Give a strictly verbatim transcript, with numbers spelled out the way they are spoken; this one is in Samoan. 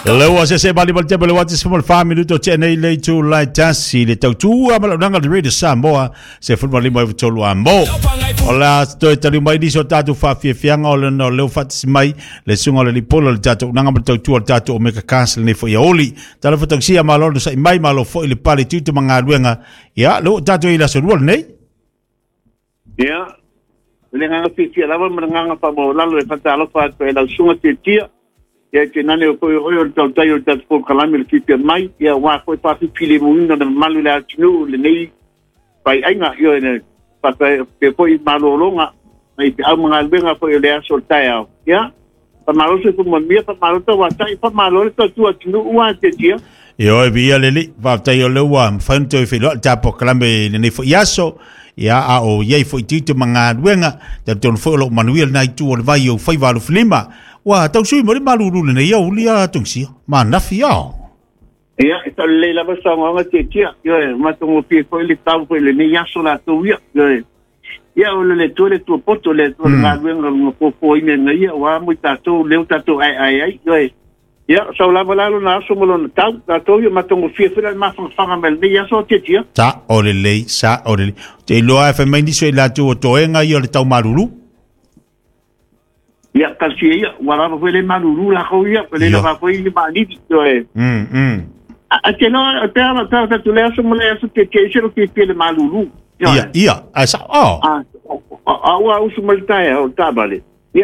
Leua se se mali malte le wati small fa minuto te nei le tu lai tasi le tautua ma langa le Radio Samoa se fu mali mai tolu ambo. Ola toi tali mai ni so tatu fa fia fianga o le no leo fat mai le sunga le lipolo le tatu nanga ma tautua le tatu o meka castle nei fo ia oli. Tala fo taxia malo no sai mai malo fo ile pale tutu mangaluenga. Ia lo tatu ila so rual nei. Ia. Le nganga fia lava ma nganga fa mo lalo e fata alofa e la sunga te tia. Ia te nane o koe hoi o le tautai o le tatu kalami le kipia mai, ia wā koe pāpi pile muina na malu le atinu le nei pai ainga, ia ene papa pe poi malolonga, mai pe au mga luenga foi o le aso o le tai ao. Ia, pa maloso ku mamia, pa malota wā tai, pa malole tatu atinu ua te tia. Ia oi via lele, whaftai o leua, mwhainu te whiloa le tapo kalame le nei fo iaso, ia a o iei fo i tito mga luenga, te tonu fo o lo manuia le nai tu o le vai o whai walu filima. Wa tau sui mo le malulu le nei au lia tungsia ma nafi ao. Ia e tau le lava sa ngonga te tia ia ma tongo pie foi le tau foi le nei aso la tu ia ia o le tu le tu poto le tu le ngaluenga ngo po ine nei ia wa mo tatou le tatou ai ai ai ia ia sa lava la na aso mo lo tau tatou ia ma tongo pie foi le ma fanga mel nei aso te tia sa o le le sa o le te loa fa mai ni so la tu o toenga ia le tau malulu. Ia, kalsi ia, wala foi le malulu la ko ia, le la foi le malidi toe. Mm mm. A te no, te ana ta ta tu le aso mo le aso te te se lo ke le malulu. Ia, ia, a sa oh. A a wa usu malta o tabale.